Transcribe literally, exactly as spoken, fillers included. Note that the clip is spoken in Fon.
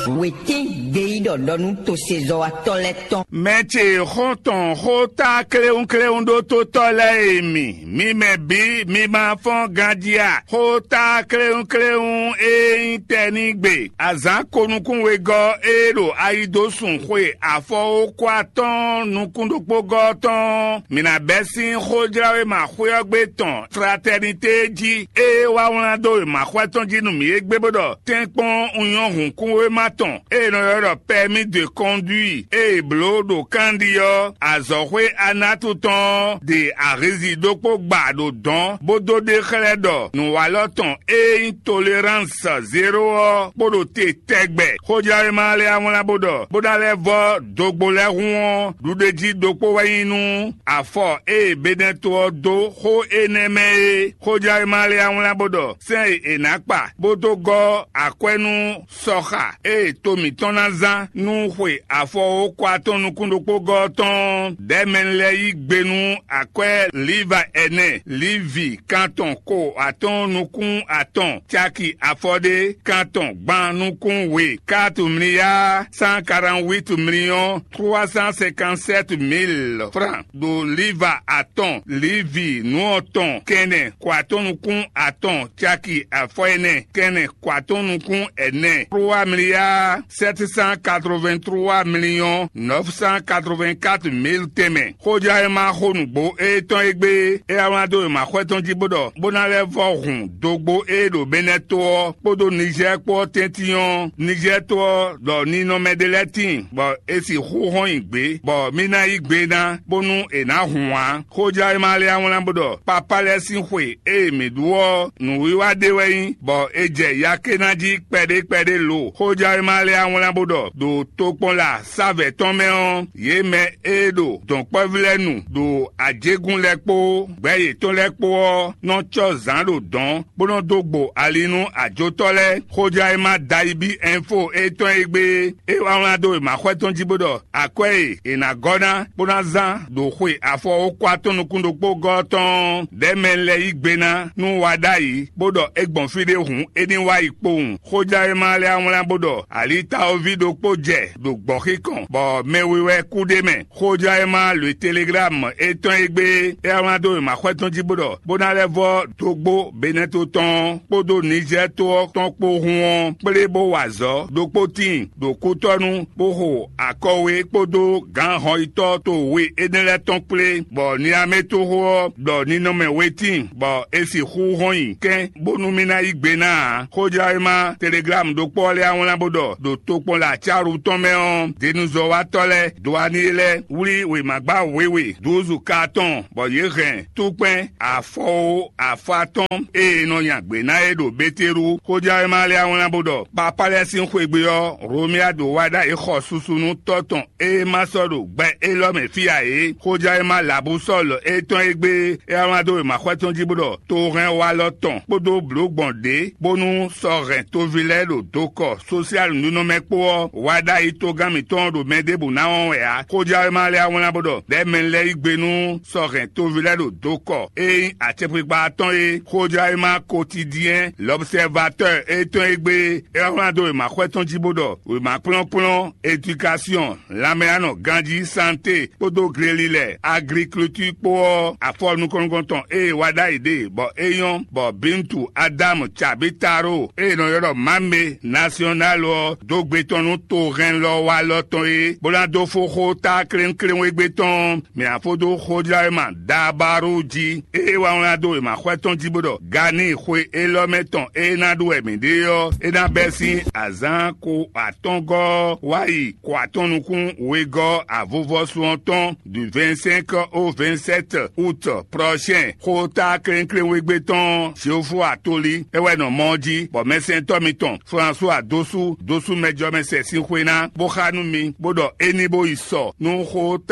Wětín gbeyíɖɔ ɖɔ nú tosezɔ́watɔ́ lɛ́ɛ tɔn. Mɛ ce xɔ́ntɔn xó tá kléwúnkléwún ɖó tótɔ́ lɛ́ɛ e mi, mi mɛ bǐ mi ma fɔ́n ganjí a? Xó tá kléwúnkléwún e nyí tɛnígbe, azǎn konukúnwegɔ́ e ɖo ayi dó sun xwe afɔwókwa tɔn nukún ɖokpógɔ́ tɔn, mi ná bɛ́ sín xójláwéma xwé ɔ́ gbe tɔn fratɛnité jí e wá wlán dó wěmaxwɛ tɔn jí nú mǐ égbé bó ɖɔ: Tɛ́nkpɔ́n un nyɔ́ hǔnkúnwéma tɔn e è nɔ ylɔ́ ɖɔ permis de conduire e è blǒ ɖo kanɖi ɔ́, azɔ̌xwé Anatu tɔn ɔ́ ɖe ahizi ɖokpó gba ɖo dɔ̌n bó dó ɖe xlɛ́ ɖɔ nǔwalɔ tɔn e nyí tolérance zéro ɔ́ kpo ɖo te tɛgbɛ. Xójlawéma lɛ́ɛ wá wlán bó ɖɔ: Bó ná lɛ́ vɔ́ dogbo lɛ́ɛ hun ɔ́, ɖuɖéjí ɖokpó wɛ nyí nú afɔ e Benɛto ɔ́ dó xó énɛ́ mɛ é. Xójlawéma lɛ́ɛ wá wlán bó ɖɔ: Sɛ́n e è nǎ kpa bó dó gɔ́ akwɛ́ nú sɔxa e to mǐtɔn ná zán nú xwe afɔwókwa tɔn nukún ɖokpógɔ́ ɔ́ tɔn ɔ́, ɖɛ̌mɛnu lɛ́ɛ yí gbe nú akwɛ́ Liva ɛnɛ, Livi kantɔn ko atɔ́ɔ́n nukún atɔn, caki afɔɖé kantɔn gban nukún we, quatre milliards cent quarante-huit millions trois cent cinquante-sept mille francs ɖo Liva atɔn, Livi nǔ atɔn kɛnɛ ko atɔ́ɔ́n nukún atɔn, caki afɔ ɛnɛ kɛnɛ ko atɔ́ɔ́n nukún ɛnɛ, trois milliards sept cent quatre-vingt-trois millions neuf cent quatre-vingt-quatre mille tɛnmɛ. Xójlawéma xó nǔgbó étɔn e gbé é wá wlán dó wěmaxwɛ tɔn jí bó ɖɔ: Bó ná lɛ́ vɔ́ hun dógbó e ɖo Benɛto ɔ́ kpódó Nizɛ́ɛ kpó ɔ́ tɛ́ntin ɔ́, Nizɛ́ɛ to ɔ́ ɖɔ ninɔmɛ ɖé lɛ́ɛ tíin, bɔ è sixú hɔn nyi gbě, bɔ mì ná yí gbe ná, bónú è nǎ hun ǎ. Xójlawéma lɛ́ɛ wá wlán bó ɖɔ: Papá lɛ́ɛ sín xwe e mǐ ɖu ɔ́, nǔwiwa ɖé wɛ nyí, bɔ è jɛ yakéná jí kpɛɖé kpɛɖé lo. Xójlawéma lɛ́ɛ wá wlán bó ɖɔ: Ɖo tokpɔnla sávɛ̌ tɔn mɛ ɔ́, yě mɛ e ɖo dɔ̌nkpɛ́vú lɛ́ɛ nu ɖo ajégún lɛ́ɛ kpó gbɛ̌ yětɔn lɛ́ɛ kpó ɔ́ nɔ cɔ́ zǎn ɖo dɔ̌n, bó nɔ́ dó gbo ali nú ajotɔ́ lɛ́ɛ. Xójlawéma Dayibí Ɛnfo étɔn e gbé é wá wlán dó wěmaxwɛ tɔn jí bó ɖɔ: Akwɛ́ e è nǎ gɔ́ ná bó ná zán ɖo xwe afɔwókwa tɔn nukún ɖokpó gɔ́ ɔ́ tɔn ɔ́, ɖɛ̌mɛ lɛ́ɛ yí gbe ná nú wa ɖ'ayǐ, bó ɖɔ é gbɔn fí ɖé hǔn é ní wá yi kpowun. Xójlawéma lɛ́ɛ wá wlán bó ɖɔ: Alitawoví ɖokpó jɛ ɖo gbɔ̌xíkɔn, bɔ mɛ we wɛ kú ɖ'é mɛ. Xójlawéma Lweteleglama étɔn e gbé é wá wlán dó wěmaxwɛ tɔn jí bó ɖɔ: Bó ná lɛ́ vɔ́ dógbó Benɛto tɔn ɔ́ kpódó Nizɛ́ɛ to ɔ́ tɔn kpó hun ɔ́ kplé bó wa azɔ̌ ɖokpó tíin ɖo kútɔ́nú bó xo akɔwe kpódó gǎn hɔnyitɔ́ to we énɛ́ lɛ́ɛ tɔn kplé, bɔ Niametoxo ɔ́ ɖɔ ninɔmɛ we tíin, bɔ è sixú hɔn nyi kɛ́n bónú mì ná yí gbe ná ǎ. Xójlawéma Teleglámu ɖokpó ɔ́ lɛ́ɛ wá wlán bó ɖɔ: Ɖo tokpɔnla cálu tɔn mɛ ɔ́, denuzɔ́watɔ́ lɛ́ɛ dó ani lɛ́ɛ wlí wěmagbá wěwe dúzu ka tɔn, bɔ yě hɛn túkpɛn afɔwo afɔ atɔ́ɔ́n e è nɔ nya gbě ná é ɖo Betelu. Xójlawéma lɛ́ɛ wá wlán bó ɖɔ: Papá lɛ́ɛ sín xwegbe ɔ́, Romia ɖo wa ɖ'ayǐ xɔ susu nú tɔ́ tɔn e ma sɔ́ ɖo gbɛ élɔ́ mɛ fí ǎ é. Xójlawéma Labusɔ́ɔl étɔn e gbé é wá wlán dó wěmaxwɛ tɔn jí bó ɖɔ: Tohɛnwalɔ tɔn kpódó blǒ gbɔn ɖě, bónú sɔ́ hɛn toví lɛ́ɛ ɖo dokɔ sosiali nunɔmɛ kpó ɔ́, wa ɖ'ayǐ togán mǐtɔn ɖo mɛ ɖěbǔ ná wɔn wɛ ǎ. Xójlawéma lɛ́ɛ wá wlán bó ɖɔ: Ɖɛ̌mɛ lɛ́ɛ yí gbe nú sɔ́ hɛn toví lɛ́ɛ ɖo dokɔ e nyí acɛkpikpa atɔ́ɔ́n é. Xójlawéma Kotidiɛn Lɔbsɛvatɔ́ɔ étɔn e gbé é wá wlán dó wěmaxwɛ tɔn jí bó ɖɔ: Wěma kplɔ́nkplɔ́n, edikasiɔn, lanmɛyánɔ ganjí, santé, kpódó glelilɛ, agliklitíi kpó ɔ́, afɔ nukɔn nukɔn tɔn e è wa ɖ'ayǐ ɖe bɔ é nyɔ́, bɔ Bintu Adamu Cabitaro e è nɔ ylɔ́ ɖɔ Mame Nasyɔnál ɔ́ dó gbe tɔn nú tohɛnlɔwalɔ tɔn é, bó ná dó fó xó tá klénklénwégbé tɔn ɔ́, mǐ ná fó dó xójlawéma Dabaru jí. Ée wá wlán dó wěmaxwɛ tɔn jí bó ɖɔ: Gani xwe élɔ́ mɛ tɔn e ná ɖu wɛ mǐ ɖe ɔ́, é ná bɛ́ sín azǎn ko atɔ́ngɔ́ ɔ́ wá yi ko atɔ́n nukún wegɔ́ avuvɔ́sú ɔ́ tɔn du vingt-cinq au vingt-sept août prochain. Xóta klɛ́nklɛ́n wegbe tɔn Jehofa Atoli é wɛ nɔ mɔ ɔ́ jí, bɔ mɛsɛntɔ́ mitɔn François Dosu, Dosu mɛjɔmɛsɛ sín xwe ná, bó xá nú mi, bó ɖɔ é ní bó yi sɔ nú xóta